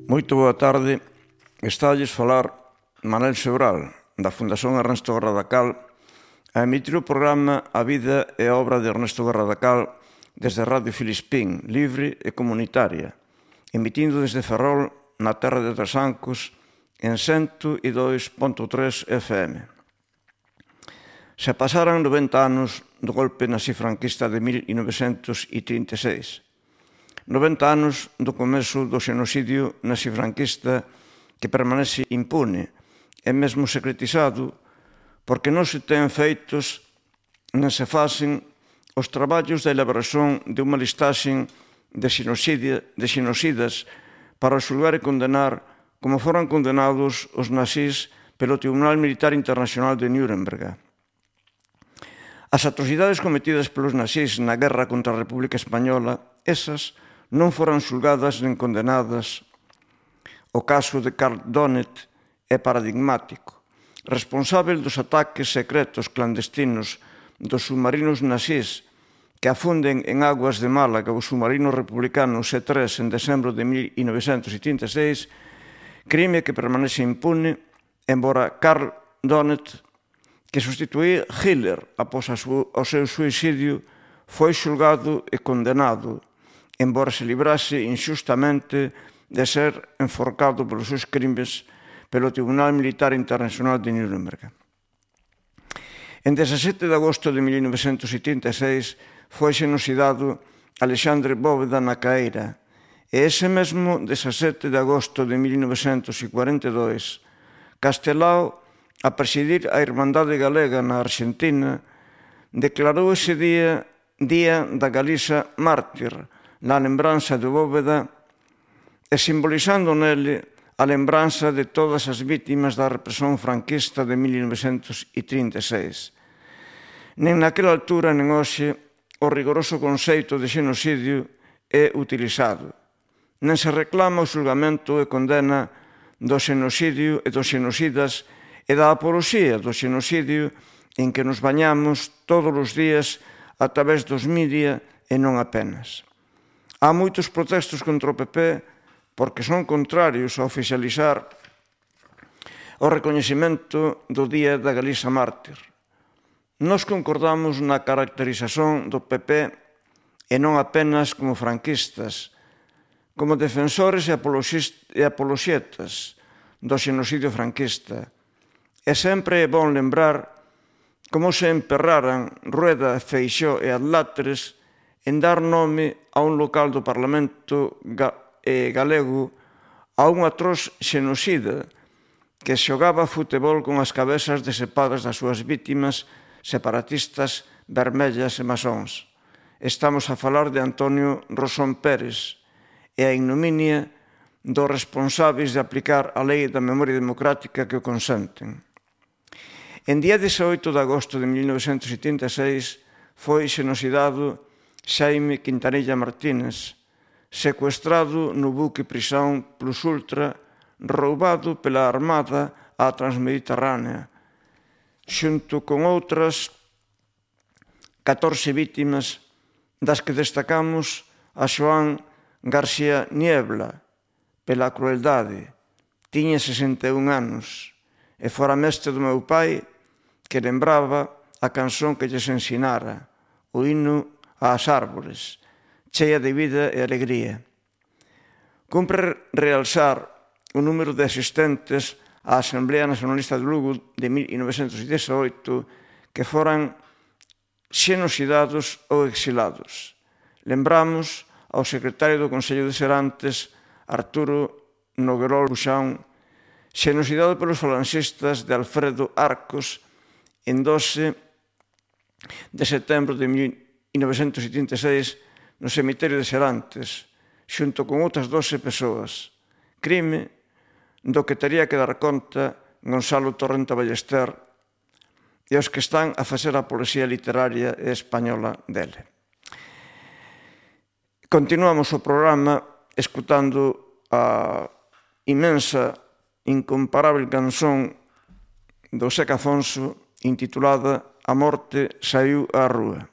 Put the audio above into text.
Moito boa tarde. Estalles falar Manel Sebral, da Fundación Ernesto Garradacal, a emitir o programa A vida e a obra de Ernesto Garradacal desde Radio Filispín, libre e comunitaria, emitindo desde Ferrol, na terra de Trasancos, en 102.3 FM. Se pasaran 90 anos do golpe nazi-franquista de 1936. 90 anos do comezo do xenocidio nazi-franquista que permanece impune e mesmo secretizado porque non se ten feitos non se facen os traballos de elaboración de unha listaxe de xenocidas para xulgar e condenar como foran condenados os nazis pelo Tribunal Militar Internacional de Nuremberg. As atrocidades cometidas pelos nazis na guerra contra a República Española, esas non foran xulgadas nen condenadas. O caso de Karl Donnet é paradigmático. Responsável dos ataques secretos clandestinos dos submarinos nazis que afunden en aguas de Málaga o submarino republicano C-3 en decembro de 1936, crime que permanece impune, embora Karl Donnet, que sustituía Hitler após o seu suicidio, foi xulgado e condenado, embora se librase inxustamente de ser enforcado polos seus crimes pelo Tribunal Militar Internacional de Nuremberg. En 17 de agosto de 1936 foi xenocidado Alexandre Bóveda na Caeira e ese mesmo 17 de agosto de 1942 Castelao, a presidir a Irmandade Galega na Arxentina, declarou ese día da Galiza mártir, na lembranza de Bóveda e simbolizando nele a lembranza de todas as vítimas da represión franquista de 1936. Nen naquela altura nen hoxe o rigoroso conceito de xenocidio é utilizado. Nen se reclama o xulgamento e condena do xenocidio e dos xenocidas e da apoloxía do xenocidio en que nos bañamos todos os días a través dos media e non apenas. Há moitos protestos contra o PP porque son contrarios a oficializar o recoñecemento do Día da Galiza Mártir. Nós concordamos na caracterización do PP e non apenas como franquistas, como defensores e apoloxetas do xenocidio franquista. E sempre é bon lembrar como se emperraran Rueda, Feixóo e Adláteres en dar nome a un local do Parlamento galego a un atroz xenocida que xogaba futebol con as cabezas decepadas das súas vítimas separatistas vermellas e masóns. Estamos a falar de Antonio Rosón Pérez e a ignominia dos responsáveis de aplicar a lei da memoria democrática que o consenten. En día 18 de agosto de 1976 foi xenocidado Xaime Quintanilla Martínez, secuestrado no buque Prisão Plus Ultra, roubado pela Armada á Transmediterránea, xunto con outras 14 vítimas, das que destacamos a Xoán García Niebla, pela crueldade. Tiña 61 anos e fora mestre do meu pai, que lembraba a canción que lles ensinara, o himno ás árbores, chea de vida e alegría. Cumpre realzar o número de asistentes á Asamblea Nacionalista de Lugo de 1918 que foran xenocidados ou exilados. Lembramos ao secretario do Consello de Serantes, Arturo Noguerol Buxán, xenocidado pelos falanxistas de Alfredo Arcos en 12 de setembro de 1976 no cemiterio de Serantes, xunto con outras 12 persoas. Crime do que tería que dar conta Gonzalo Torrenta Ballester e os que están a facer a poesía literaria española dele. Continuamos o programa escutando a inmensa, incomparable canción do Seca Afonso intitulada A morte saiu á rúa.